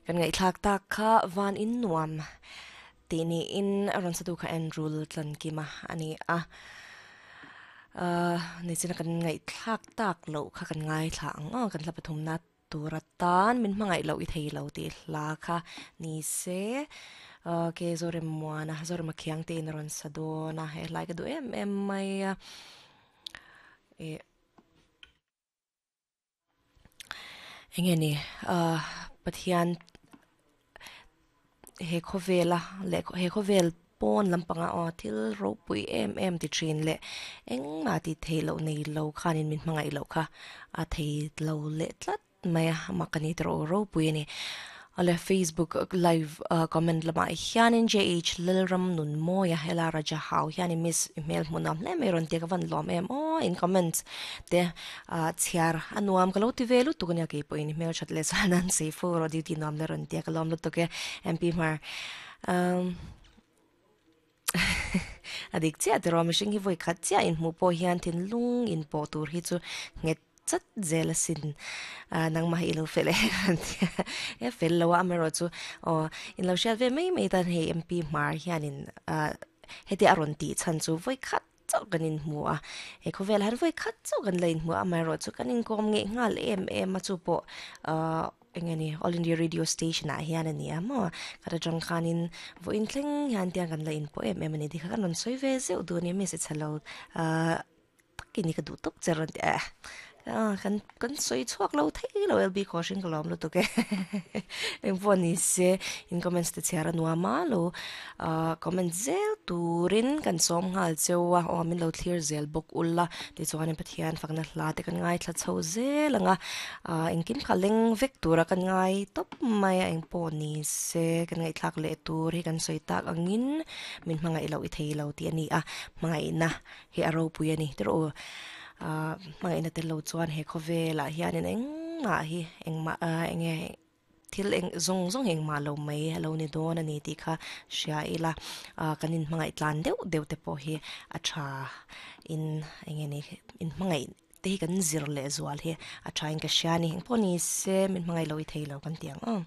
Kan ngaihthlak tak kha van in nuam tih niin a rawn satu kha Andrew Tlankima a ni a. Nichina kan ngaihthlak tak loh kha kan ngaithla ang aw, kan hla pathumna tur atan min hmangaih loh i thei lo tih hla kha ni se. Ke Zoremmuana, Zorema Khiangte in a rawn sa dawn a, he hlai ka duh em em mai a. Enge ni ah Pathian he khawvela leh he khawvel pawn lampanga aw thil ropui em em ti thin leh engmah tih theih loh nei lo khanin min hmangaih loh kha a thei lo leh tlat mai a mak a ni tawh rawh ropui a ni. Awle Facebook live comment lamah hianin JH Lalram Nunmawia hela Raja Hau hianin miss i hmel hmuh nuam hle mai rawn tia ka van lawm em aw in comment te chhiar a nuam ka lo ti ve lutuk ania keipawhin i hmel that leh chuan an sei fo rawh duty nuam le rawn tia ka lawm lutuk e MP Hmar a dik chiah tiraw mihring hi vawi khat chiah inhmuh pawh hian thinlung inpawh tur hi chu nghet chat zel asin ah nangmah hi ilo fel em an ti a e fel lo a amaherawh chu aw inlo hriat ve mai mai tan hei MP hmar hianin ah hetia a rawn tih chhan chu vawi khat chauh kan inhmu a he khawvel ah hian vawi khat chauh kan la inhmu a amaherawh chu kan inkawm ngeih nghal em em a chu pawh ah eng nge ni All India Radio Station ah hian a ni a maw khat atang khanin vawiin thleng hian tiang kan la inpawh em em a ni tikha kan rawn sawi ve zeuh duh a ni mi se lo ah takin i ka duh tawp che rawn ti a ah kan kan sawi chhuak lo thei lo LB Kawhring ka lawm lutuk e engpawh ni se in comments te chhiar a nuam a lo ah comment zel turin kan sawm nghal cheu a aw min lo thlir zel bawk ula tichuanin Pathian fakna hla te kan ngaithla chho zel ang a ah engkim kha leng vek tura kan ngai tawp mai a engpawh ni se kan ngaihthlak leh tur hi kan sawi tak angin min hmangaih loh i thei lo tih a ni a hmangaihna Hi a ropui a ni tiraw u. Ahh hmangaihna tel lo chuan he khawvelah hianin engmah hi engmah ahh enge thil eng zawng zawng hi engmah lo mai a lo ni dawn a ni tih kha hria ila ahh kan inhmangaih tlan deuh deuh te pawh hi a tha in enge ni inhmangaih te hi kan zir leh zual hi a tha in ka hria a ni engpawh ni se min hmangaih loh i thei lo kan ti ang aw.